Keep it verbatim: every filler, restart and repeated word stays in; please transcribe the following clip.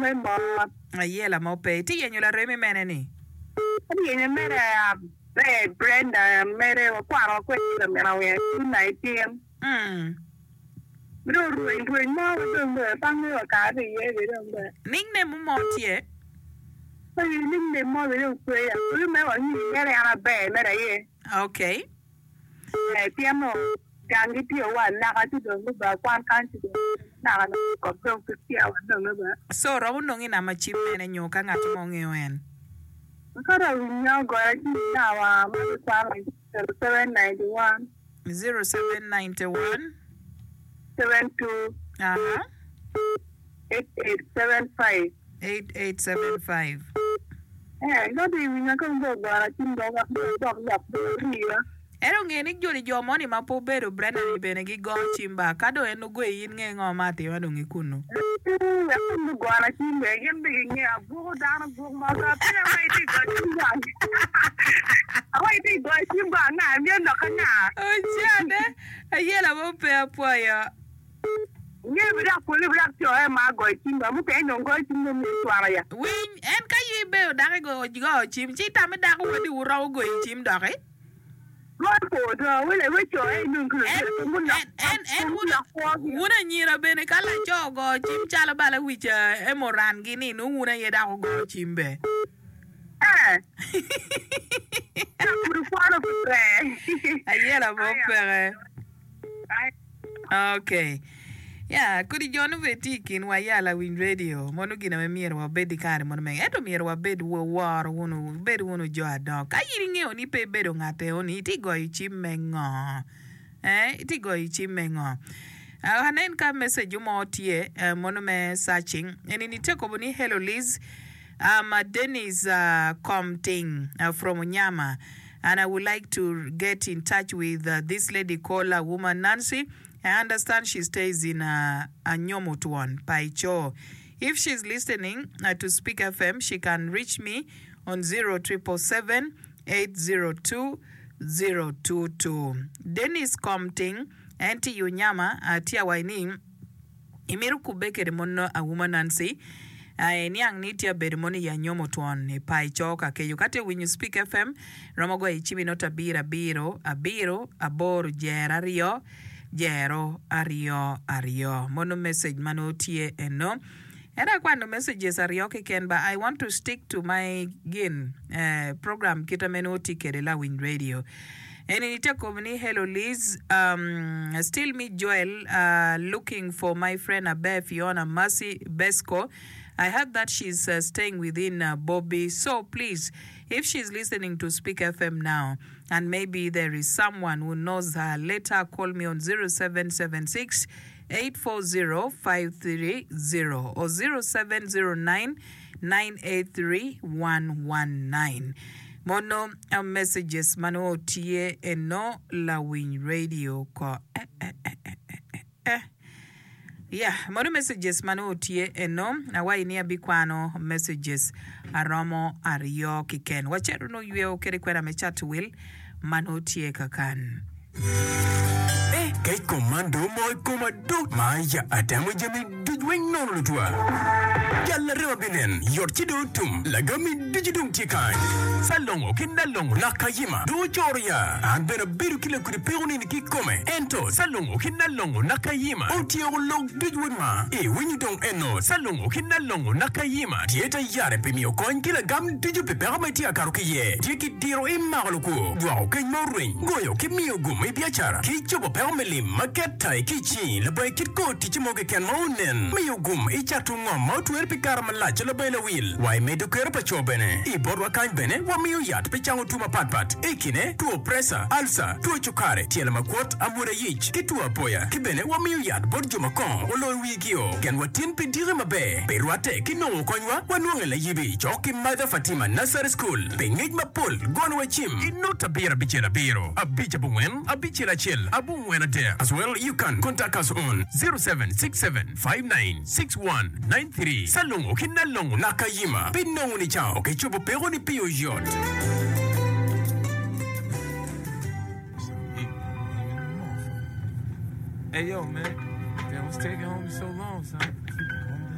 Me mot. Ayela mo pe. Itye yenyo laremi mene ni? Atye yenyo mere aber Brenda mere wakwano kwede lamina wiye two nineteen. Mm. Dong rweny rweny mo dong bene pe angeyo kare iye be dong bene. Nickname mo tye? Ee, nickname mo be dong pe ya. Kulu me wangi mere an aber mere aye. Okay. Eh, pien no gang gitye wa naka ci dong guba kwan kany ci dong naka naka kop dong pe tye wa nonge ba. So romo nongo i namba cim mene nyo ka ngat mo ngeyo en? Ka dong winyo goya ci nawa ma gikwano zero seven ninety one. Zero seven ninety one. Seven two. Aha. Eight eight seven five. Eight eight seven five. Eh, ka dong iwinyo ka dong ogora cim dong wek dong idok lok dong iriyo. Ento nge ni joni jo moni ma pe obedo Brenda ni bene gigo cim ba, ka dong en ogoyi in nge ngo ma atima dong ikunu. Eh, wek dong gugona cim bene gin be gingeyo abuko dano buk mo ka peya ma itye ka goyo cim gang. Awa itye ka goyo cim go anga myero lok anga. Ocane, ayela mo pe apwoyo. Nge bi dok pole bi dok coe ma goyo cim ba mukene dong goyo cim dong myero cwalo ya. Winy, en ka yi ibedo dako igoyo goyo cim ci itamo ni dako wadi wu romo goyi cim doki? Goyo po do wele we coe inung ki En, lutino pe gulok en, en, en pe wun, gulok kwogi. wun anyira bene ka laco ogoyo cim calo bala wic emorangi ni nongo wun aye dok wugoyo cim be. Eh. Dok pud wukwano pe ber. Ayela mo Aya. peke. Aya. Ok. Ya, kodi jo nongo bene tye i kinwa ya lawiny radio mono gin ame myero wabed i kare mono mege. Ento myero wabed woro wunu, wubed wunu jo adongo. Ka in ingeyo ni pe ibedo ngat eo-ni, itye goyo cim me ngo? Eh, itye goyo cim me ngo? Ah, anen ka message mo tye eh, mono me searching. Eni ni tye kobo ni hello Liz. I'm uh, Dennis uh, Komting uh, from Onyama and I would like to get in touch with uh, this lady called uh, woman Nancy. I understand she stays in uh, Anyomotwon, Paicho. If she's listening uh, to Speak FM, she can reach me on zero triple seven eight zero two zero two two. Dennis Komting, en tye i Onyama, uh, tye awaci ni Imito kubbe kede mon Auma Nancy iniang ni tye abedo mono i anyomo twon i paco ka keco ka tye winyo Speak FM romo goyo i cimi not abiro abiro abiro aboro jero aryo jero aryo aryo mono message ma nongo tye eno ento akwano messages aryo keken ba I want to stick to my gin eh, program kita me nongo tye kede lawiny radio Eni tye kobo ni hello Liz um, still me Joel uh, looking for my friend Aber Fiona Mercy Besco I heard that she's uh, staying within uh, Bobby so please if she's listening to Speak FM now and maybe there is someone who knows her let her call me on zero seven seven six eight four zero five three zero or zero seven zero nine nine eight three one one nine Mono messages ma nongo tye eno lawiny radio ko eh eh eh eh eh eh Yeah, mono messages ma nongo tye eno awaci ni abikwano messages aromo aryo kiken. Wacito nongo yweo kede kwena me cato wil ma nongo tye kakan. Eh, kec kom man dong omoko i koma do! Ma ya atemo jami duc weng nono lutwa. Jal larema binen, yot ci dong otum, lagami ducu dong tye kany. Salongo ki Nalongo lak kayima dong ocoro ya. An bene abedo ki lakudi peko nini kikome, ento Salongo ki Nalongo lak kayima otyeko lok duc weng ma iwinyo dong eno. Salongo ki Nalongo lak kayima tye te yare pi miyo kony ki lagam ducu pi peko ma itye ka kato ki iye. Tye ki diro imako lukwo, dwoko keny ma orweny, goyo ki miyo gum i biacara, ki cobo peko me lim ma ket-tai ki i cingi labongo kit kor ticce mo keken ma onen, miyo gum i cato ngom ma otwere pi kare malac labongo lawil, wa i medo kero pa co bene. I botwa kany bene wamiyo yat pi cango two mapatpat, i kine, two preca, alca, two cukari, tyelo makwot, amwoda yic, ki two apoya. Ki bene wamiyo yat bot jo ma kongo oloyo wigio. Genwa tin pi diki maber, pi rwatte ki nongo konywa, wanwonge layibi cok ki Mother Fatima Nursery School. Pi ngec mapol, gonwa cim i not abiro abicel abiro abic abongwen abicel acel abongwen adek as well you can contact us on zero seven six seven five nine six one nine three Salongo ki Nalongo Nakayima pi nongo nicango ki cobo peko ni pi oyot. Hey yo man, damn, what's taking homie so long, son?